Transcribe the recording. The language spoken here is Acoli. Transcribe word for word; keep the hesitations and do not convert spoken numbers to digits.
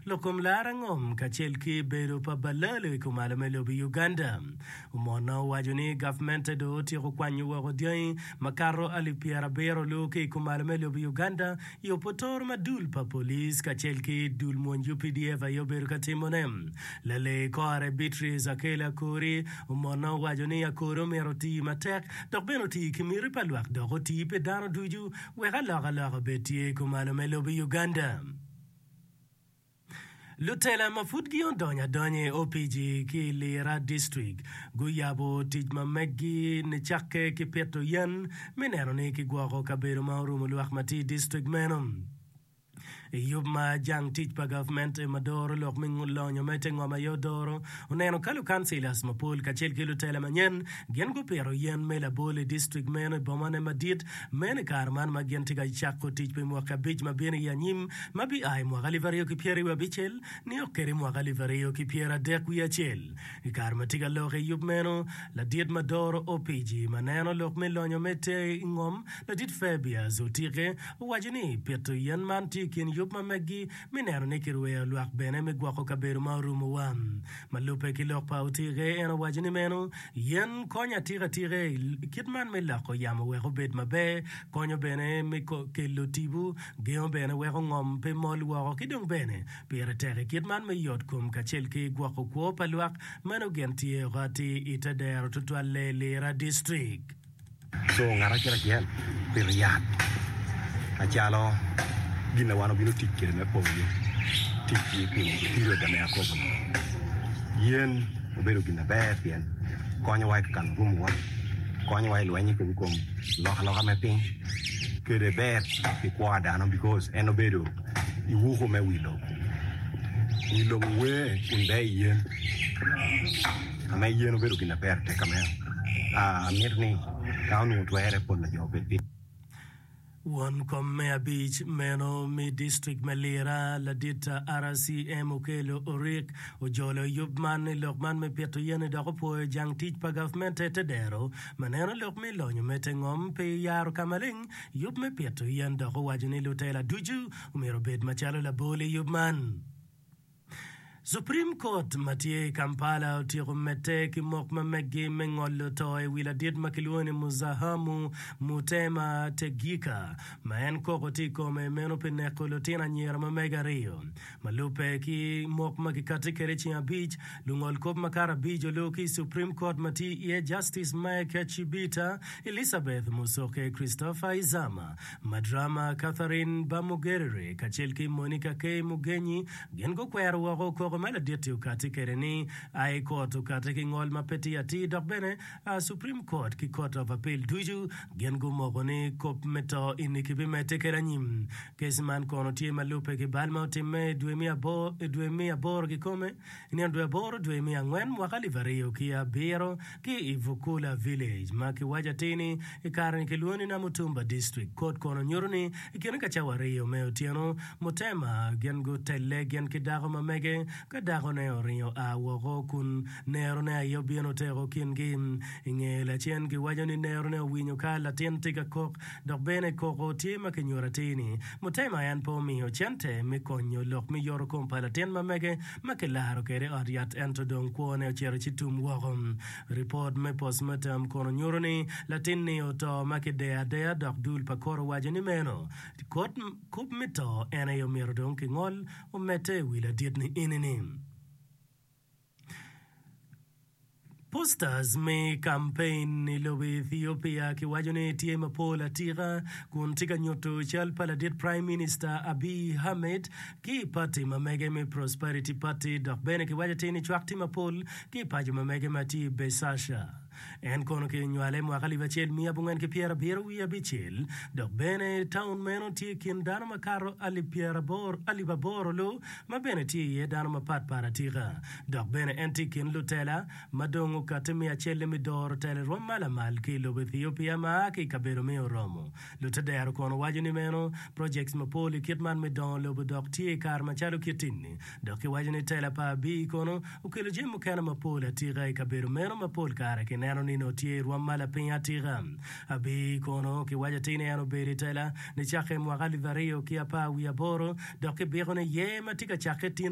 Lok kom lara ngom kacel ki bedo pa balalo i kumalo me lobo Uganda. Omona owaco ni gavmente dong otyeko kwanyo woko dyangi makato alip pyerabiro lu ki i kumalo me lobo Uganda i opotoro ma dul pa police kacel ki dul mwony U P D F aye obedo ka timone. Lalee kore Beatrice Akello Akori Omona owaco ni Akori omyero oti matek dok bene oti ki miti pa lwak dok oti pi dano ducu wek alokaloka obed tye i kumalo me lobo Uganda. Lutela ma pud gin odonyo adonya i opiji ki i Lira District guyabo tic ma meggi nicakke ki pito yen me neno ni kigwoko kabedo ma orumo lwak ma tye i district meno. I yub ma jang tic pa gavmente ma doro lok me lonyo me te ngom aye odoro, oneno ka lukansilas mapol kacel ki lutela manyen gin gupito yen me labol i distrik meno i bomane madit meno i kare man ma gin tye ka cako tic pi mwaki abic ma bino i anyim ma bia i mwaka alip aryo ki pyeraryo abicel nio kwede i mwaka alip aryo ki pyeradek wiye acel. I kare ma tye ka lok i yub meno, ladit ma doro opiji ma neno lok me lonyo me te ngom, ladit Fabius Otike, owaco ni pito yen man tye i kin yub ma meggi me neno ni kirweyo lwak bene me gwoko kabedo ma orumowa. Ma lubbe ki lok pa Otike, en owaco ni meno yen konyo atika atika i kit man me loko yamo wek obed maber, konyo bene me kelo tipo, gengo bene weko ngom pe mol woko ki dong bene pire tek i kit man me yot kom kacel ki gwoko kwo pa lwak. Meno gin tye oko atir i te dero tutwalle Lira District. So ngat acel acel pito yat macalo gin ma wan obino tic kwede me pwonyo tic pi period me akobo-ni. Yen obedo gin maber pien konyowa i kano rumuwa, konyowa i lweny i kom alokaloka me piny, kede ber pi kwo pa dano because en obedo iwuko me wi lobo. Wi lobo wer kun ber i yen ame yen obedo gin maber tek meno. Amito ni ka onongo twere pol pa jo obed piny. Won kom me abic meno me distrik me Lira, ladit R C M Okello Orik ojolo yub man i lok man me pito yen dok opwoyo jang tic pa gavmente te dero ma neno lok me lonyo me te ngom pe yaro ka maleng yub me pito yen dok owaco ni lutela ducu omyero obed macalo labol i yub man. Supreme Court ma tye i Kampala otyeko medde ki mok ma meggi me ngolo to i wi ladit ma kilwongo ni Muzahamu Mutema Tegika ma en koko tye i kome meno pi neko lutino anyira ma mege aryo. Ma lubbe ki mok ma kikati kwede ceng abic, lungol kop makato abic olubo ki i Supreme Court ma tye iye Justice Mike Chibita, Elizabeth Musoke, Christopher Izama, Madrama Catherine Bamugerere kacel ki Monica K. Mugenyi gin gukwero woko koko ma ladit-ti okati kwede ni High Court okati ki ngol ma pe tye atir dok bene Supreme Court ki Court of Appeal ducu gin gumoko ni kop me to eni kibimedde kwede anyim. Kec man kono tye ma lubbe ki bal ma otimme i dwe me aboro kikome i nino dwe aboro dwe me angwen mwaka alip aryo ki abiro ki i Vukula Village ma kiwaco atir ni i kare-ni kilwongo ni Namutumba District. Court kono nyuto ni i kine ka cawa aryo me otyeno Mutema gin gutelle gin ki dako ma mege ka dakone oringo a woko kun nerone aye obino oteko kingi. I nge lacen kiwaco ni nerone owinyo ka latin tye ka kok dok bene koko tye ma kinyuto atir ni Mutema en pe omiyo cente me konyo lok me yoto kom pa latin ma mege ma kilaro kwede ot yat ento dong kwone ocito ci tum woko. Ripot me postmortem kono nyuto ni latin-ni oto ma kideyo adeya dok dul pa kot owaco ni meno kop me to en aye omyero dong kingol omedde i wi ladit-ni eni-ni. Posters me kampein i lobo Ethiopia kiwaco ni tye mapol atika kun tye ka nyuto cal pa ladit Prime Minister Abiy Ahmed ki i pati ma mege me Prosperity Party dok bene kiwaco atir ni cwak tye mapol ki i paco ma mege ma tye i Beshasha. En kono kinywale i mwaka alip acel miya abongwen ki pyerabiro wiye abicel dok bene taun meno tye i kin dano makato alip alip aboro lu ma bene tye iye dano mapatpat atika dok bene en tye i kin lutela ma dong okati me acel me doro telo i rwom ma lamal ki i lobo Ethiopia ma a ki i kabedo me Oromo. Lutedero kono waco ni meno projects mapol i kit man me dongo lobo dok tye i kare macalo kit-ni dok kiwaco ni tela pa Abiy kono okelo jami mukene mapol atika i kabedo meno ma pol kare kineno ni nongo tye i rwom ma lapiny atika. Abiy kono kiwaco atir ni en obedo i tela nicakke i mwaka alip aryo ki apar wiye aboro dok kibiko ni yer ma tye ka cakke tin